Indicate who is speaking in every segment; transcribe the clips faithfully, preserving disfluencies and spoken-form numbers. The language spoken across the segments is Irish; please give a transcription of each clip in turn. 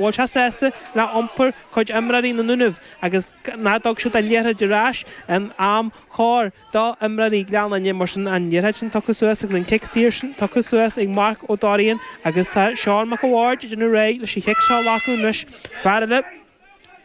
Speaker 1: bhfuil sé sásta le iompar cuid imreoirí na nDúnaibh agus nach dtug siad an liathróid ar ais in am chóir do imreoirí Ghleann Fhinne mar sin an liathróid sin tugtha suas agus an cic saor sin tugtha suas ag Marc Ó Dorrian agus tá Seán Mac a' Bhaird ag déanamh réidh leis an chic seo a ghlacadh anois fear eile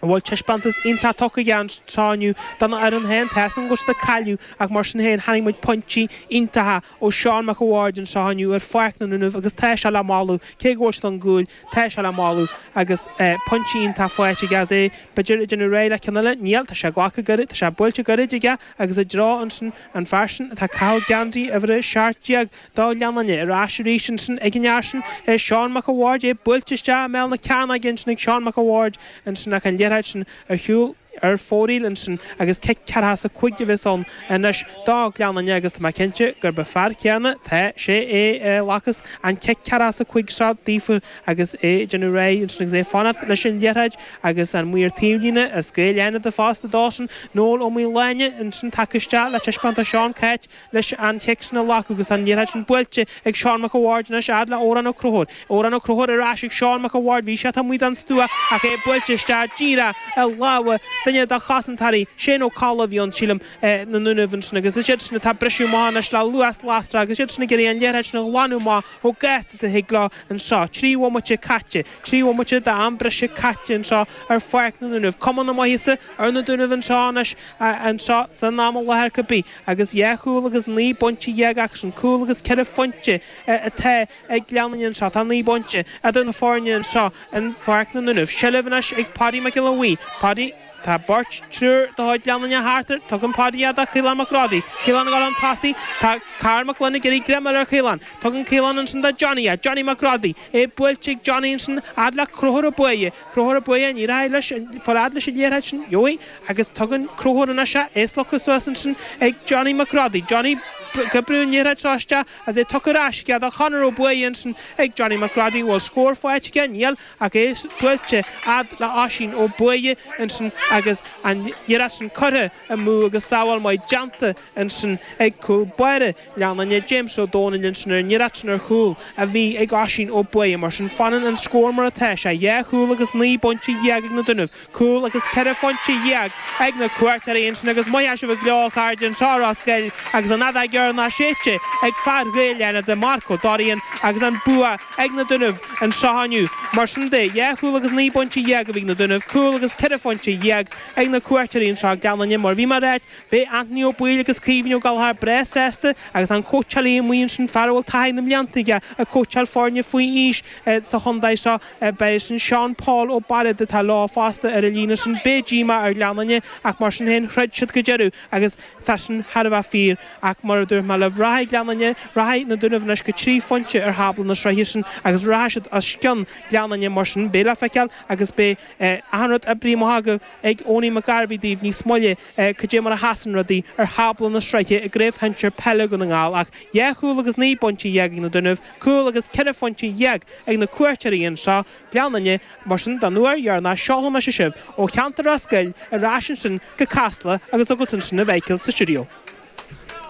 Speaker 1: a bhfuil taispeántas iontach tugtha aige anseo inniu don fhoireann féin tá a fhios agam go bhfuil siad ag cailleadh ach mar sin féin chonaic muid pointí iontacha ó Seán Mac a' Bhaird anseo inniu ar Pháirc na nDúnaibh agus tá sé le moladh cé go bhfuil siad chun cúil tá sé le moladh agus pointí iontach faighte aige as é b'fhéidir ag déanamh réidh le ceann eile níl tá sé glactha gairid tá sé buailte gairid aige agus i dtreo ansin an fear sin atá ag caitheamh geansaí uimhir a seacht déag do Ghleann Fhinne ar ais arís ansin ag an fhear sin Seán Mac a' Bhaird é buailte isteach i mbéal na cearnóige ansin ag Seán Mac a' Bhaird ansin ach an liathróid sin ar shiúl ar fóraoil ansin agus cic ceathracha is a cúig a bheas ann anois do Ghleann Fhinne agus tá mé cinnte gurb an fear céanna tá sé é a ghlacas an cic ceathracha is a cúig seo daofa agus é ag déanamh réidh ansin agus é ag fanacht leis an liathróid agus an maor taobhlíne is Gael Fhánada fosta dósan Noel Ó Maoláine ansin tagtha isteach le taispeáint do Seán Cáit leis an chic sin a ghlacadh agus an liathróid sin buailte ag Seán Mac a' Bhaird anois fhad le Odhrán Ó Conchúir. Odhrán Ó Conchúir ar ais ag Seán Mac a' Bhaird bhí sé taobh amuigh den stua ach é buailte isteach díreach i lámha duine de chosantóirí Shane Ó Colla a bhí ann sílim na nDúnaibh ansin agus is iad sin atá ag briseadh amach anois le luas lasrach agus iad sin ag iarraidh an liathróid sin a ghlanadh amach chomh gasta is a thig leo anseo. Trí bhomaite caite, trí bhomaite d'am breise caite anseo ar Pháirc na nDúnaibh. Cuma na maitheasa ar na Dúnaibh anseo anois anseo san am i láthair cibé agus dhá chúl agus naoi bpointe dhéag acusan, cúl agus ceithre phointe atá ag Gleann Fhinne anseo. Tá naoi bpointe idir na foirne anseo in Pháirc na nDúnaibh. Seilbh anois ag Paddy Mac Giolla Bhuí. Paddy. Tá beirt, triúr de chuid Ghleann Fhinne thart air. Tugann Paddy é do Chaolán Mac Rodaí. Caolán ag dul chun tosaigh. Tá Karl Mac Gloinn ag iarraidh greim a fháil ar Chaolán. Tugann Caolán ansin do Johnny é. Johnny Mac Rodaí. É buailte ag Johnny ansin fhad le Conchúr Ó Buaidhe. Conchúr Ó Buaidhe, ní rachaidh leis, fáil fhad leis an liathróid sin. Gheobhaidh. Agus tugann Conchúr anois é. É slogtha suas ansin ag Johnny Mac Rodaí. Johnny ag oibriú an liathróid seo isteach agus é tugtha ar ais aige do Chonor Ó Buaidhe ansin ag Johnny Mac Rodaí. Bhfuil scór faighte aige? Níl. Ach é buailte fhad le Oisín Ó Buaidhe ansin agus an iarracht sin curtha amú agus sábháil maith déanta ansin ag cúl báire Ghleann Fhinne, James Ó Dónaill ansin ar an iarracht sin ar chúl a bhí ag Oisín Ó Buaidhe. Mar sin fanann an scór mar atá sé, dhá chúl agus naoi bpointe dhéag ag na Dúnaibh, cúl agus ceithre phointe dhéag ag na cuairteoirí ansin agus maith sibh go leor a chairde anseo i Ros Goill agus an fheadóg dheireanach séidte ag fear Ghaeil Fhánada, Marc Ó Dorrian agus an bua ag na Dúnaibh anseo inniu. Mar sin de, dhá chúl agus naoi bpointe dhéag a bhí ag na Dúnaibh, cúl agus ceithre phointe dhéag ag na cuairteoirí anseo i Gleann Fhinne. Mar bhí mé ag ráit, beidh Anthony Ó Baoill agus Caoimhín Ó Gallchóir breá sásta agus an cóitseálaí amuigh ansin, fear a bhfuil taithí na mblianta aige ag cóitseáil foirne faoi aois sa chontae seo, beidh sin Seán Paul Ó Bairéad atá leo fosta ar an líne sin. Beidh díomá ar Ghleann Fhinne ach mar sin féin throid siad go deireadh agus tá sin thar a bheith fíor ach mar a dúirt mé libh, rachaidh Gleann Fhinne, rachaidh na Dúnaibh anois go trí phointe ar thábla na sraithe sin agus rachaidh siad os cionn Gleann Fhinne mar sin beidh le feiceáil agus beidh achan rud oibrithe amach agaibh ag Owenie McGarvey daoibh níos moille cad é mar a sheasann rudaí ar thábla na sraithe i gCraobh Shinsir Peile Dhún na nGall ach dhá chúl agus naoi bpointe dhéag ag na Dúnaibh, cúl agus ceithre phointe dhéag ag na cuairteoirí anseo, Gleann Fhinne, mar sin don uair dheireanach seolfaidh mise sibh ó cheantar Ros Goill ar ais ansin go Casla agus chugat ansin a Mhichael sa stiúideo.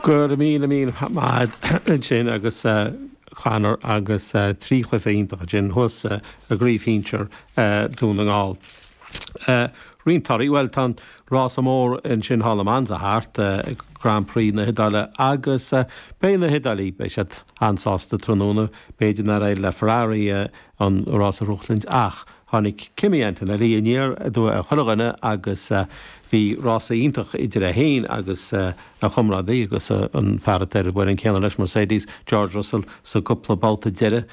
Speaker 2: Go raibh míle míle maith agat ansin agus Conor agus trí chluiche iontach ansin thuas i gCraobh Shinsir Dún na nGall. Roinnt torthaí, bhuel tá an rása mór ansin thall i Monza thart, Grand Prix na hIodáile agus beidh na hIodálaigh, beidh siad an-sásta tráthnóna, b'fhéidir nár éirigh le Ferrari an rás a ghnóthachtaint ach tháinig Kimi Antonelli aniar aduaidh ar chuile dhuine agus bhí rása iontach idir é féin agus a chomrádaí agus an fear atá ar an bhfoireann céanna leis, Mercedes, George Russell sa gcúpla babhta deiridh.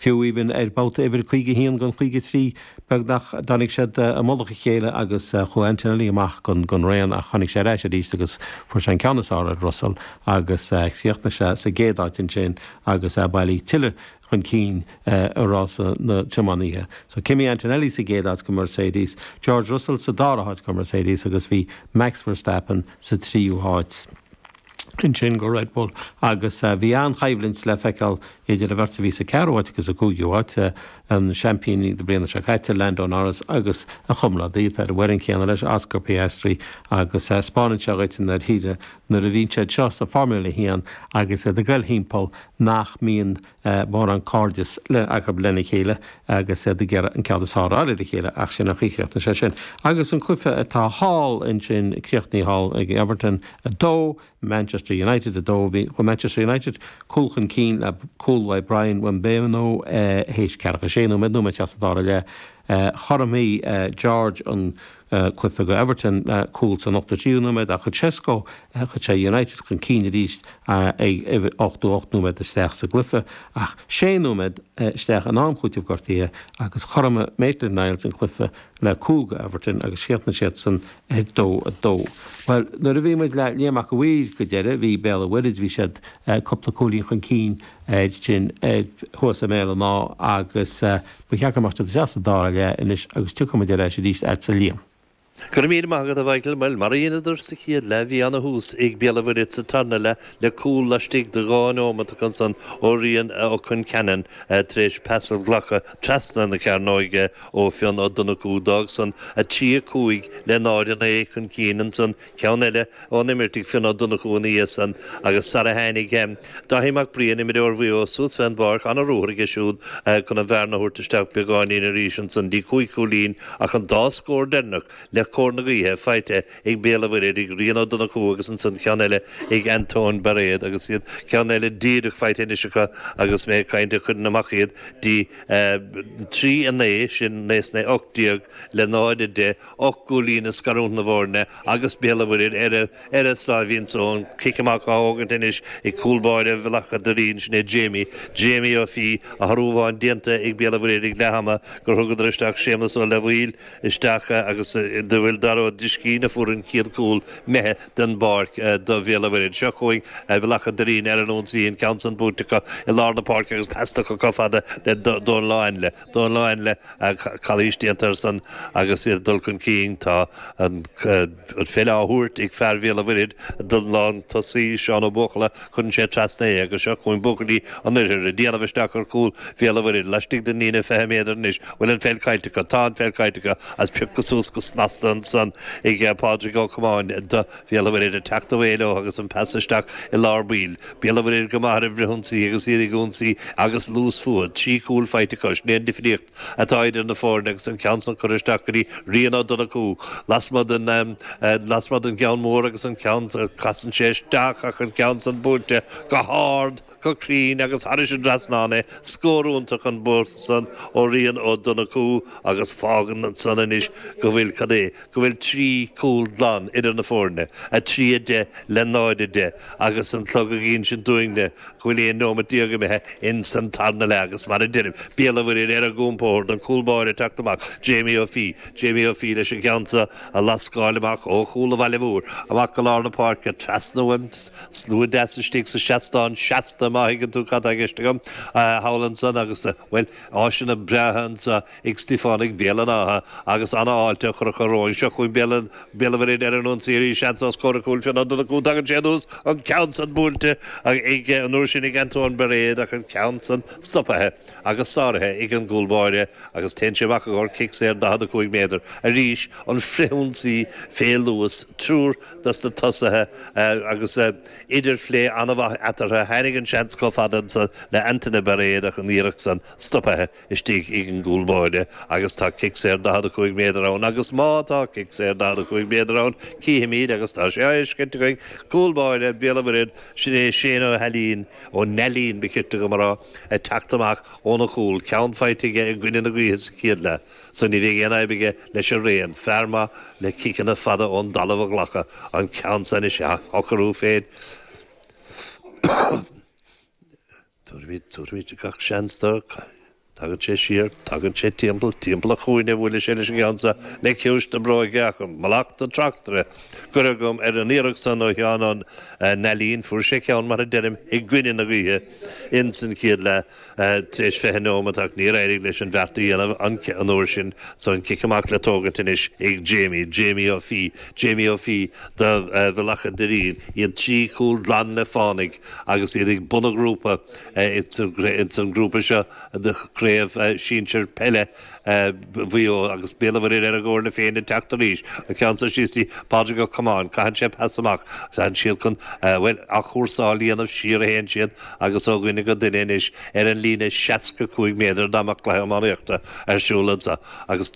Speaker 2: Fiú even ar babhta uimhir caoga a haon don caoga a trí beagnach tháinig siad i mullach a chéile agus chuaigh Antonelli amach den raon ach tháinig sé ar ais arís agus fuair sé an ceann is fearr ar Russell agus chríochnaigh sé sa gcéad áit ansin agus é bailithe tuilleadh chun cinn i rása na tiománaithe. So Kimi Antonelli sa gcéad áit go Mercedes, George Russell sa dara háit go Mercedes agus bhí Max Verstappen sa tríú háit. ansin go Red Bull agus bhí an-choimhlint le feiceáil idir an bheirt a bhí sa ceathrú háit agus sa cúigiú háit, an seaimpín na bliana seo caite, Lando Norris agus a chomrádaí atá ar an bhfoireann chéanna leis, Oscar Piastri agus 'spáineann sé dhuit i ndáiríre nuair a bhíonn siad seo sa Formula a haon agus iad ag goil thimpeall nach mbíonn mórán cairdeas le acu lena chéile agus iad ag iarraidh an ceann is fearr a fháil ar a chéile ach sin an chaoi a chríochnaigh sé sin. Agus an cluiche atá thall ansin críochnaithe thall ag Everton a dó, Manchester United a dó bhí chuaigh Manchester United cúl chun cinn le cúl uaidh Bryan Mbeumo théis ceathracha sé nóiméad nóiméad isteach sa dara leath. Chothromaigh George an cluiche go Everton le cúl san ochtó tríú nóiméad ach chuir Sesko chuir sé United chun cinn arís ag ochtó ocht nóiméad isteach sa gcluiche ach sé nóiméad isteach in am chúitimh gortaithe agus chothromaigh Maitland-Niles an cluiche le cúl go Everton agus chríochnaigh siad san ar dó a dó. Well nuair a bhí muid le Liam Mac a' Mhaoir go deireadh bhí Béal an Mhuirthead bhí siad cúpla cúilín chun cinn sin thuas i mBéal an Átha agus ba cheart go mbeadh siad isteach sa dara leath anois agus tiocfaidh muid ar ais arís agatsa Liam.
Speaker 3: Go raibh míle maith agat a Mhichael, bhuel mar a dheineadar sa chéad leath bhí ana-thús ag Béal an Mhuirthead sa tarna leath le cúl laistigh de dhá nóiméad ansan ó Rian Ó Concheanainn tar éis pas a ghlacadh trasna na cearnóige ó Fionn Ó Donnchú. D'fhág san a trí a cúig le náid a naoi chun cinn ansan ceann eile ón imirt ag Fionn Ó Donnchú ina dhiaidh san agus sara tháinig Dáithí Mac Briain, imreoir Mhaigh Eo suas fén bpáirc, ana-ruathar aige siúd chun an bhearna a thabhairt isteach beagáinín arís ansan dtí cúig chúilín ach an dá scór deireanach le cóir na gaoithe faighte ag Béal an Mhuirthead ag Rian Ó Donnchú agus ansan ceann eile ag Antóin Bairéad agus iad ceann eile díreach faighte anois acu agus mé ag caint a chuireann amach iad dtí trí a naoi, sin naoi is naoi ocht déag le náid a deich, ocht gcúilín ag scarúint na bhfoirne agus Béal an Mhuirthead ar a ar a sáimhín só, an cic amach á thógaint anois ag cúl báire Bhealach a' Doirín, sin é Jamie, Jamie Ó Fiaich, athrú amháin déanta ag Béal an Mhuirthead ag leath ama gur thugadar isteach Séamus Ó Leamhaoil isteach agus do bhfuil Dara Ó Driscín a fuair an chéad chúl imithe den bpáirc do Bhéal an Mhuirthead. Seo chugainn Bealach an Doirín ar an ionsaí, an ceann san buaite acu i lár na páirce agus pas tugtha chomh fada le Dónal Ó Ainle. Dónal Ó Ainle, calaois déanta air san agus iad ag dul chun cinn. Tá an pheil á thabhairt ag fear Bhéal an Mhuirthead don lántosaí Seán Ó Buachalla. Cuireann sé trasna é agus seo chugainn buachaillí an Oirthir ag déanamh isteach ar chúl Bhéal an Mhuirthead laistigh den líne fiche méadar anois. Bhfuil an pheil caillte acu? Tá an pheil caillte acu agus pioctha suas go snasta ansan ag Pádraig Ó Comáin do Bhéal an Mhuirthead ag teacht away leo agus an pas isteach i lár baill. Béal an Mhuirthead go maith ar an bhfrithionsaí agus iad ag ionsaí agus luas fúthu. Trí chúl faighte acu. Sin é an difríocht atá idir na foirne agus an ceann san curtha isteach go dtí Rian Ó Donnchú lasmuigh den lasmuigh den gceann mór agus an ceann casann sé isteach ach an ceann san buailte go hard go cruinn agus thairis an dtrasnán é. Scór iontach an babhta san ó Rian Ó Donnchú agus fágann ansan anois go bhfuil, cad é, go bhfuil trí chúl glan idir na foirne, a trí a deich le náid a deich, agus an clog ag insint dúinne go bhfuil aon nóimeat déag imithe ins an tarna leath agus mar a deirim, Béal an Mhuirthead ar a gcompord, an cúl báire ag teacht amach, Jamie Ó Fiaich, Jamie Ó Fiaich leis an gceann seo a lascáil amach ó chúl an Bhaile Mhóir, amach go lár na páirce, trasna uaim, slua deas istigh sa seastán seasta, má thuigeann tú cad tá i gceist agam, thall ansan agus, bhuel, áiseanna breátha anso ag Stiofánaigh Bhéal an Átha agus an-fháilte á chur acu romhainn. Seo chugainn Béal an, Béal an Mhuirthead ar an ionsaí arís, seans os comhair an chúil, Fionn Ó Donnchú, tagann sé anuas, an ceann san buailte ag, an uair sin ag Antoine Bairéad ach an ceann san stopaithe agus sáraithe ag an gcúl báire agus téann sé amach i gcomhair cic saor daichead a cúig méadar. Arís an frithionsaí fé luas, triúr dos na tosaithe agus idirphlé an-mhaith eatarthu. Tháinig an seans chomh fada ansan le Antaine Bairéad ach an iarracht san stopaithe istigh ag an gcúl báire agus tá cic saor daichead a cúig méadar ann agus má tá cic saor daichead a cúig méadar ann cífimid agus tá sé á fheiscint againn cúl báire Bhéal an Mhuirthead, sin é Shane Ó hAilín, Ó Neilín ba chirte dom a rá, ag teacht amach óna chúl, ceann faighte aige i gcoinne na gaoithe sa chéad leath so ní bheidh aon fhadhb aige leis an raon, fear maith le ciceanna fada ón dtalamh a ghlacadh, an ceann san is ea a shocrú féin. Tabharfaimid, tabharfaimid gach seans dó. Tagann sé siar, tagann sé timpeall, timpeall an chúinne, buaileann sé leis an gceann seo le ciumhais na bróige ach mallacht an tráchtaire curtha agam ar an iarracht san ó Sheán Ó Neilín. Fuair sé ceann, mar a deirim, i gcoinne na gaoithe ins an chéad leath tar éis fiche nóimeat ach níor éirigh leis an bheart a dhéanamh an uair sin so an cic amach le tógaint anois ag Jamie, Jamie Ó Fiaich, Jamie Ó Fiaich do Bhealach a' Doirín, iad trí chúl glan le fánaigh agus iad ag bun an ghrúpa ins an ngrúpa seo de. Craobh Sinsir Peile Mhaigh Eo agus Béal an Mhuirthead ar a gcomhairle féin ag teacht arís an ceann seo síos dtí Pádraig Ó Comáin caitheann sé pas amach agus siad chun bhuel athchúrsáil a dhéanamh siar a théann siad agus ó dhuine go duine anois ar an líne seasca cúig méadar dá mbeadh cluiche iománaíochta ar siúl anseo agus